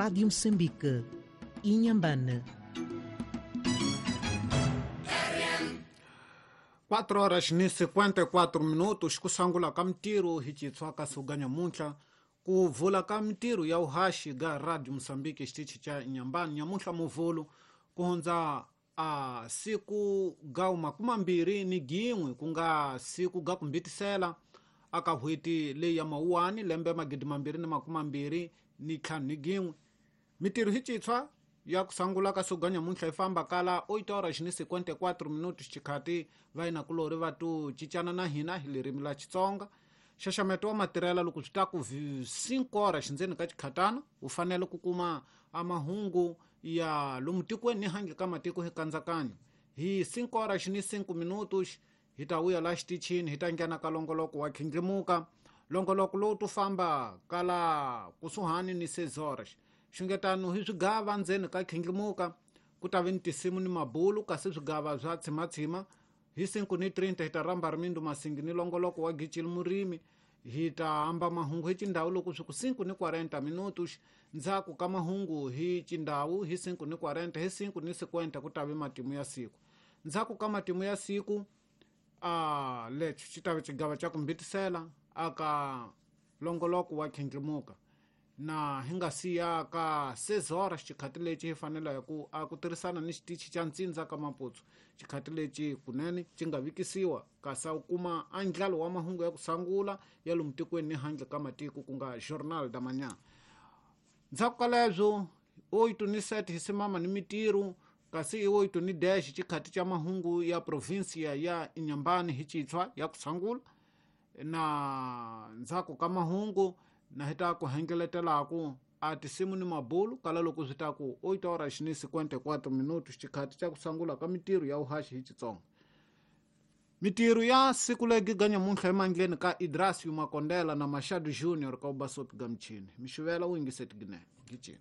Rádio Moçambique, Inhambane. 4 horas ni 54 minutos kusangula ka mtiro hi chitswa ka suganya muntlha ku vula ka mtiro ya uhashi ga Radio Moçambique xitichi cha Inhambane nyamuntlha muvulu ku hundza a siku ga 21 ku nga siku ga kumbitisela aka hweti leyi ya mawuwani lembe 2025 mitiro hi chitswa ya kusangula ka suganya muntlha yi famba kala 8 horas ni 54 minutos xikhati va yina kulori va tu cincana na hina hi ririmi la Xitsonga. Xaxameto wa matirhela loko swi ta ku 5 horas ndzeni ka xikhatana u fanele ku kuma a mahungu ya lomu tikweni ni handle ka matiko hi kandzakanyo. Hi 5 horas ni 5 minutos hi ta vuya la xitichini hi ta nghena ka longoloko wa khindlimuka. Longoloko lowu tu famba kala kusuhani ni 6 horas. Xungetano hi swigava ndzeni ka khindlimuka ku ta vi ni tisimu ni mabulu kasi swigava swa tshimatshima. Hi 5:30 hi ta rhamba rimindu masingi ni longoloko wa gicili murimi. Hi ta hamba mahungu hi cindhawu loko swi ku 5:40 minutos. Ndzhaku ka mahungu hi cindhawu hi 5:40 hi 5:50 ku ta vi matimu ya siku. Ndzhaku ka matimu ya siku a lexi xi ta vi xigava xa ku mbitisela aka longoloko wa khindlimuka. Na hi nga siya ka 6 horas xikhati lexi hi faneleke ku a ku tirhisana ni xitichi xa ntsindza ka Maputsu. Xikhati lexi kunene xi nga vikisiwa kasi u kuma andlalo wa mahungu ya ku sangula ya lomu tikweni ni handle ka matiko ku nga Journal da Manhã. Ndzhaku ka leswo 8:07 hi simama ni mitiru kasi i 8:10 xikhati xa mahungu ya provinsia ya Inhambane hi chitshwa ya ku sangula. Na ndzhaku ka mahungu na hi ta ku hengeletelaku a tisimu ni mabulu kala loko swi ta ku 8 horas ni 54 minutos xikhati xa ku sangula ka mitiru ya uhaxi hi Xitsonga. Mitiru ya siku legi ga nyamuntlha emandleni ka Idrasio Makondela na Machado Junior ka Ubasopi ga Mchini. Mixivela u yingiseti ginene. Gicini.